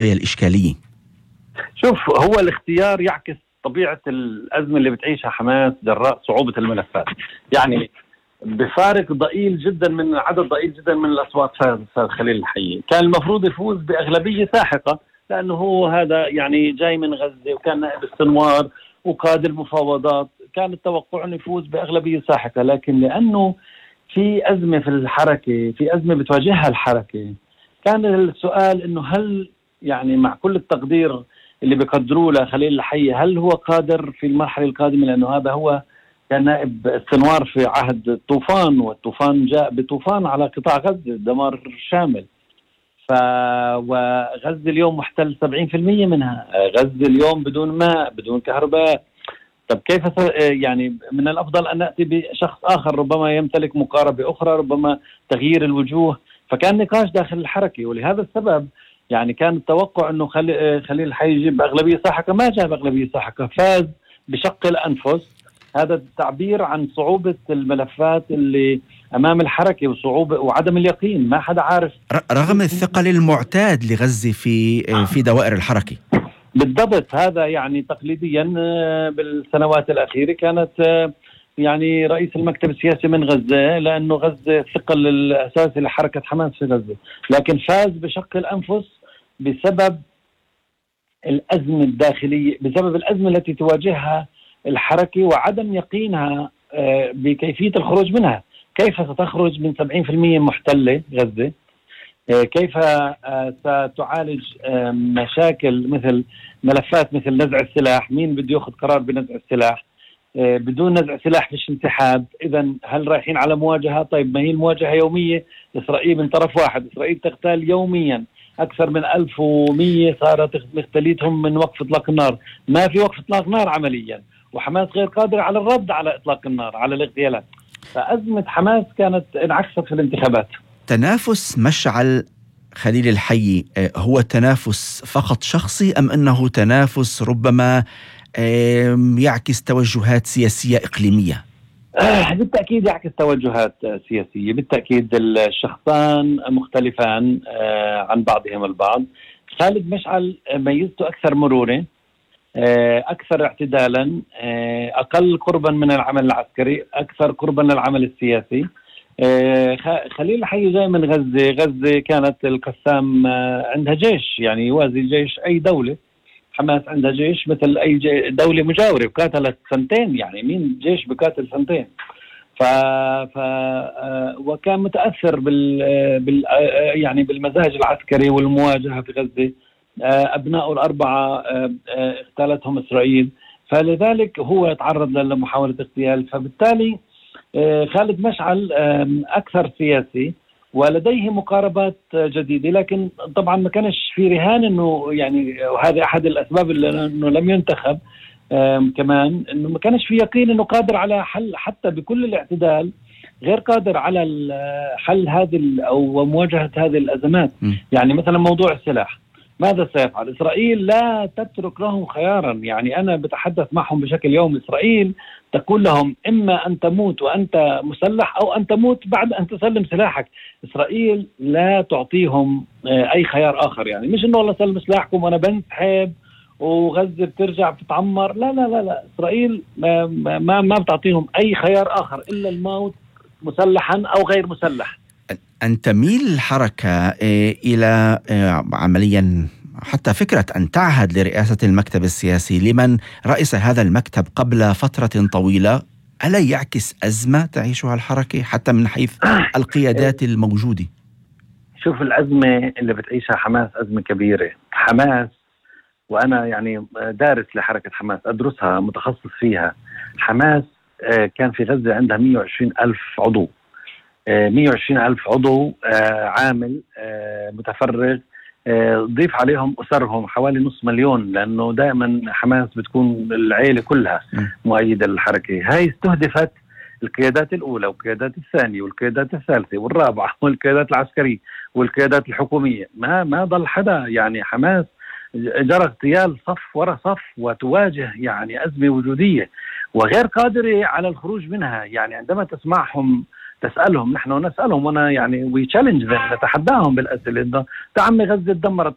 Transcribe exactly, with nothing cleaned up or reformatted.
الإشكالية؟ شوف، هو الاختيار يعكس طبيعة الأزمة اللي بتعيشها حماس جراء صعوبة الملفات. يعني بفارق ضئيل جدا من عدد ضئيل جدا من الأصوات فاز خليل الحي. كان المفروض يفوز بأغلبية ساحقة لأنه هو هذا يعني جاي من غزة وكان نائب السنوار وقاد المفاوضات، كان التوقع أنه يفوز بأغلبية ساحقة. لكن لأنه في أزمة في الحركة، في أزمة بتواجهها الحركة، كان السؤال أنه هل يعني مع كل التقدير اللي بيقدروه لخليل الحي هل هو قادر في المرحلة القادمة، لأنه هذا هو كان نائب السنوار في عهد الطوفان، والطوفان جاء بطوفان على قطاع غزة دمار شامل. ف وغزة اليوم محتل سبعين بالمئة منها، غزة اليوم بدون ماء بدون كهرباء. طب كيف يعني من الأفضل أن نأتي بشخص آخر ربما يمتلك مقاربة أخرى، ربما تغيير الوجوه. فكان نقاش داخل الحركة، ولهذا السبب يعني كان التوقع أنه خليل الحي يجيب أغلبية ساحقة، ما جاب أغلبية ساحقة، فاز بشق الأنفس. هذا التعبير عن صعوبة الملفات اللي أمام الحركة وصعوبة وعدم اليقين، ما حدا عارف رغم الثقل المعتاد لغزة في في دوائر الحركة. بالضبط، هذا يعني تقليديا بالسنوات الأخيرة كانت يعني رئيس المكتب السياسي من غزة، لأنه غزة الثقل الأساسي لحركة حماس في غزة، لكن فاز بشق الأنفس بسبب الأزمة الداخلية، بسبب الأزمة التي تواجهها الحركة وعدم يقينها بكيفية الخروج منها. كيف ستخرج من سبعين بالمئة محتلة غزة؟ كيف ستعالج مشاكل مثل ملفات مثل نزع السلاح؟ مين بده ياخذ قرار بنزع السلاح؟ بدون نزع سلاح فيش انسحاب. إذا هل رايحين على مواجهة؟ طيب ما هي المواجهة يومية. إسرائيل من طرف واحد، إسرائيل تغتال يوميا أكثر من ألف ومئة صارت مختليتهم من وقف إطلاق النار، ما في وقف إطلاق نار عمليا، وحماس غير قادر على الرد على إطلاق النار على الاغتيالات. فأزمة حماس كانت انعكست في الانتخابات. تنافس مشعل خليل الحي هو تنافس فقط شخصي أم أنه تنافس ربما يعكس توجهات سياسية إقليمية؟ آه بالتأكيد يعكس توجهات سياسية، بالتأكيد الشخصان مختلفان آه عن بعضهم البعض. خالد مشعل ميزته أكثر مرونة، آه أكثر اعتدالا، آه أقل قربا من العمل العسكري، أكثر قربا للعمل السياسي. آه خليل الحي جاي من غزة، غزة كانت القسام آه عندها جيش يعني يوازي جيش أي دولة. حماس عندها جيش مثل أي دولة مجاورة وقاتلت سنتين، يعني مين جيش بقاتل سنتين؟ ف... ف... وكان متأثر بال... بال يعني بالمزاج العسكري والمواجهة في غزة. أبنائه الأربعة اغتالتهم إسرائيل، فلذلك هو تعرض لمحاولة اغتيال. فبالتالي خالد مشعل أكثر سياسي ولديه مقاربات جديدة، لكن طبعا ما كانش في رهان انه يعني، وهذا احد الاسباب اللي انه لم ينتخب كمان، انه ما كانش في يقين انه قادر على حل حتى بكل الاعتدال، غير قادر على حل هذه او مواجهة هذه الازمات. م. يعني مثلا موضوع السلاح، ماذا سيفعل؟ إسرائيل لا تترك لهم خيارا. يعني أنا بتحدث معهم بشكل يومي. إسرائيل تقول لهم إما أن تموت وأنت مسلح أو أن تموت بعد أن تسلم سلاحك. إسرائيل لا تعطيهم أي خيار آخر، يعني مش إنه والله سلم سلاحكم وأنا بنسحب وغزة بترجع بتتعمر. لا لا لا لا إسرائيل ما, ما, ما بتعطيهم أي خيار آخر إلا الموت مسلحا أو غير مسلح. أن تميل الحركة إلى عمليا حتى فكرة أن تعهد لرئاسة المكتب السياسي لمن رئيس هذا المكتب قبل فترة طويلة، ألا يعكس أزمة تعيشها الحركة حتى من حيث القيادات الموجودة؟ شوف، الأزمة اللي بتعيشها حماس أزمة كبيرة. حماس، وأنا يعني دارس لحركة حماس، أدرسها، متخصص فيها. حماس كان في غزة عندها مئة وعشرين ألف عضو، مئة وعشرين ألف عضو عامل متفرغ، ضيف عليهم أسرهم حوالي نص مليون، لأنه دائما حماس بتكون العائلة كلها مؤيدة للحركة. هاي استهدفت القيادات الأولى والقيادات الثانية والقيادات الثالثة والرابعة والقيادات العسكرية والقيادات الحكومية. ما ما ضل حدا. يعني حماس جرى اغتيال صف وراء صف وتواجه يعني أزمة وجودية وغير قادرة على الخروج منها. يعني عندما تسمعهم تسألهم، نحن نسألهم، وانا يعني وي تشالنج نتحداهم بالأسئلة. ده عمي غزة تدمرت،